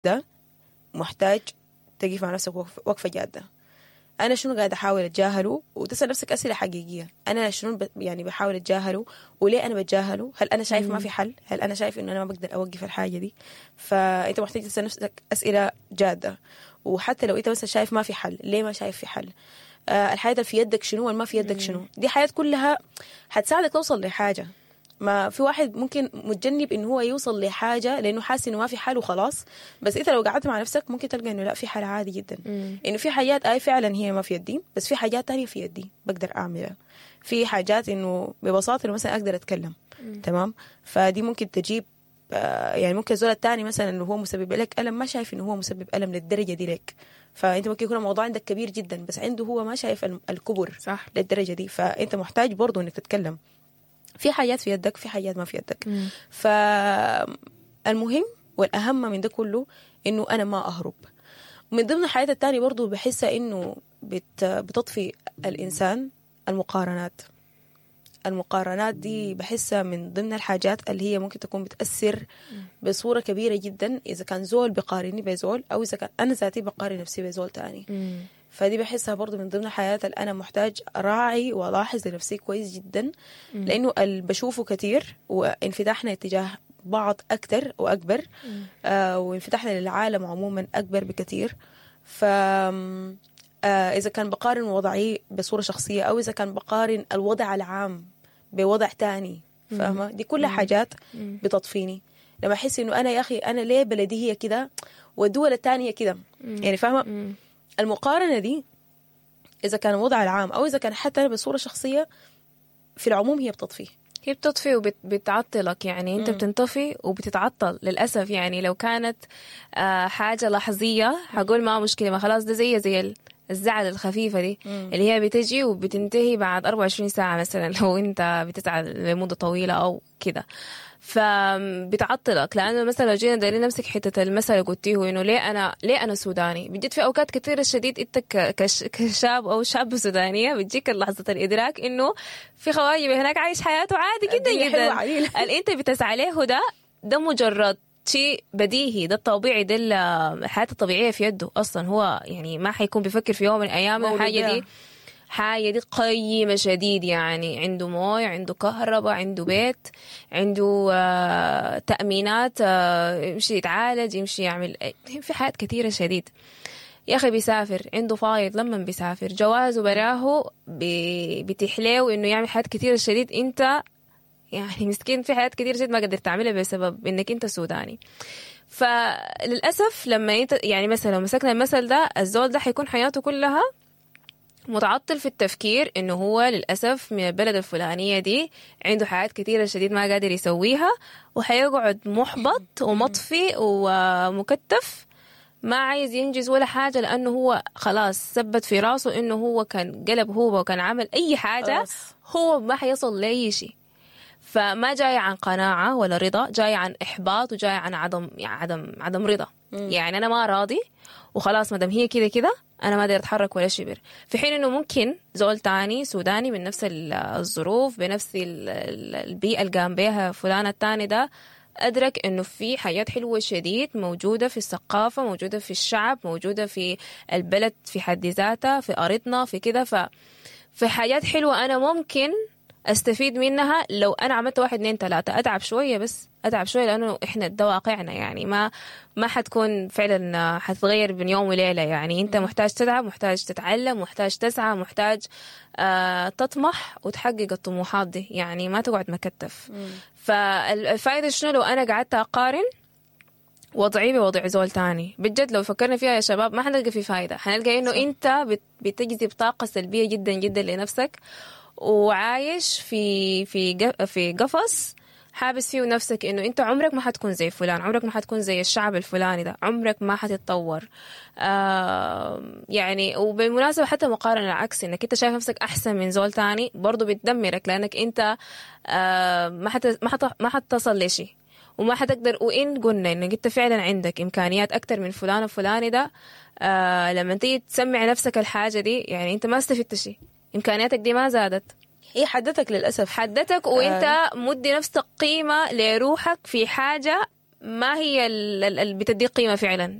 ده محتاج تقيف مع نفسك وقفة جادة. أنا شنو قاعد أحاول أتجاهله؟ وتسأل نفسك أسئلة حقيقية، أنا شنو يعني بحاول أتجاهله؟ وليه أنا بتجاهله؟ هل أنا شايف ما في حل؟ هل أنا شايف إنه أنا ما بقدر أوقف الحاجة دي؟ فأنت محتاج تسأل نفسك أسئلة جادة. وحتى لو أنت مثلا شايف ما في حل، ليه ما شايف في حل؟ الحاجة اللي في يدك شنو والما في يدك شنو؟ دي حاجات كلها حتساعدك توصل لحاجة. ما في واحد ممكن متجنب انه هو يوصل لحاجة لانه حاسس انه ما في حل وخلاص، بس انت لو قعدت مع نفسك ممكن تلقى انه لا، في حل عادي جدا، انه في حاجات اي فعلا هي ما في يدي، بس في حاجات تانية في يدي بقدر اعملها. في حاجات انه ببساطة انه مثلا اقدر اتكلم، تمام؟ فدي ممكن تجيب يعني ممكن الزول الثاني مثلا انه هو مسبب لك الم، ما شايف انه هو مسبب الم للدرجة دي لك، فانت ممكن يكون الموضوع عندك كبير جدا بس عنده هو ما شايف الكبر للدرجة دي. فانت محتاج برضه انك تتكلم. في حاجات في يدك، في حاجات ما في يدك. فالمهم والأهم من ده كله إنه أنا ما أهرب. من ضمن الحاجات التانية برضو بحسها إنه بتطفي الإنسان المقارنات. المقارنات دي بحسها من ضمن الحاجات اللي هي ممكن تكون بتأثر بصورة كبيرة جدا، إذا كان زول بقارني بزول أو إذا كان أنا ذاتي بقارن نفسي بزول تاني. فدي بحسها برضو من ضمن الحاجات اللي أنا محتاج أراعي وألاحظ لنفسي كويس جدا، لأنه اللي بشوفه كتير وانفتاحنا اتجاه بعض أكتر وأكبر، وانفتاحنا للعالم عموما أكبر بكتير. ف إذا كان بقارن وضعي بصورة شخصية أو إذا كان بقارن الوضع العام بوضع تاني، فاهمة؟ دي كلها حاجات بتطفيني لما أحس إنه أنا يا أخي أنا ليه بلدي هي كده والدول التانية كده، يعني فاهمة؟ المقارنة دي إذا كان الوضع العام أو إذا كان حتى أنا بصورة شخصية في العموم هي بتطفي. هي بتطفي وبتعطلك، يعني أنت بتنطفي وبتتعطل للأسف. يعني لو كانت حاجة لحظية هقول ما مشكلة، ما خلاص ده زي الزعل الخفيفة دي اللي هي بتجي وبتنتهي بعد 24 ساعة مثلا لو أنت بتزعل لمدة طويلة أو كده، فبتعطلك. لأنه مثلا لو جينا دايرين نمسك حتة المثل اللي قلتيه إنه ليه أنا سوداني، بتجد في أوقات كثيرة شديد أنت كشاب أو شابة سودانية بتجيك لحظة الإدراك إنه في خواجة هناك عايش حياته عادي جدا جدا، اللي أنت بتسعى له ده مجرد شيء بديهي، ده الطبيعي، ده الحياة الطبيعية في يده أصلا. هو يعني ما حيكون بيفكر في يوم من الأيام الحاجة دي حاجة دي قيمة شديد، يعني عنده موية، عنده كهرباء، عنده بيت، عنده تأمينات، يمشي يتعالج، يمشي يعمل في حاجات كثيرة شديد. يا أخي بيسافر، عنده فايض لما بيسافر، جوازه براه بتحليه إنه يعمل حاجات كثيرة شديد. أنت يعني مسكين في حاجات كثيرة جدا ما قدرت تعملها بسبب إنك أنت سوداني. فللأسف لما انت يعني مثلا لو مسكنا المثل ده، الزول ده حيكون حياته كلها متعطل في التفكير إنه هو للأسف من البلد الفلانية دي عنده حاجات كثيرة شديد ما قادر يسويها، وحيقعد محبط ومطفي ومكتف، ما عايز ينجز ولا حاجة، لأنه هو خلاص ثبت في راسه إنه هو كان قلب هو وكان عمل أي حاجة هو ما حيصل لأي شيء. فما جاي عن قناعة ولا رضا، جاي عن إحباط وجاي عن عدم يعني عدم رضا. يعني أنا ما راضي وخلاص، ما دام هي كده كده أنا ما أقدر أتحرك ولا شبر. في حين إنه ممكن زول تاني سوداني من نفس الظروف بنفس البيئة اللي قام بيها فلان التاني ده، أدرك إنه في حاجات حلوة شديد موجودة في الثقافة، موجودة في الشعب، موجودة في البلد في حد ذاتها، في أرضنا، في كده. في حاجات حلوة أنا ممكن استفيد منها لو انا عملت 1 2 3. اتعب شوية، بس اتعب شوية، لانه احنا ده واقعنا، يعني ما حتكون فعلا حتتغير بين يوم وليلة. يعني انت محتاج تتعب، محتاج تتعلم، محتاج تسعى، محتاج تطمح وتحقق الطموحات دي، يعني ما تقعد مكتف. فالفائده شنو لو انا قعدت اقارن وضعي بوضع زول تاني؟ بجد لو فكرنا فيها يا شباب ما حنلقى في فايده، حنلقى انه انت بتجذب طاقة سلبية جدا جدا لنفسك، وعايش في في في قفص حابس فيه نفسك، انه انت عمرك ما حتكون زي فلان، عمرك ما حتكون زي الشعب الفلاني ده، عمرك ما حتتطور. يعني وبالمناسبة حتى مقارنة العكس، انك انت شايف نفسك احسن من زول تاني برضو بتدمرك، لانك انت ما حتصل لشيء وما حتقدر. وإن قلنا إنك أنت فعلا عندك إمكانيات أكتر من فلان الفلاني ده، لما تيجي تسمع نفسك الحاجة دي، يعني أنت ما استفدت شيء، إمكانياتك دي ما زادت، هي حدتك للأسف، حدتك، وإنت مدي نفسك قيمة لروحك في حاجة ما هي اللي بتديك قيمة فعلا.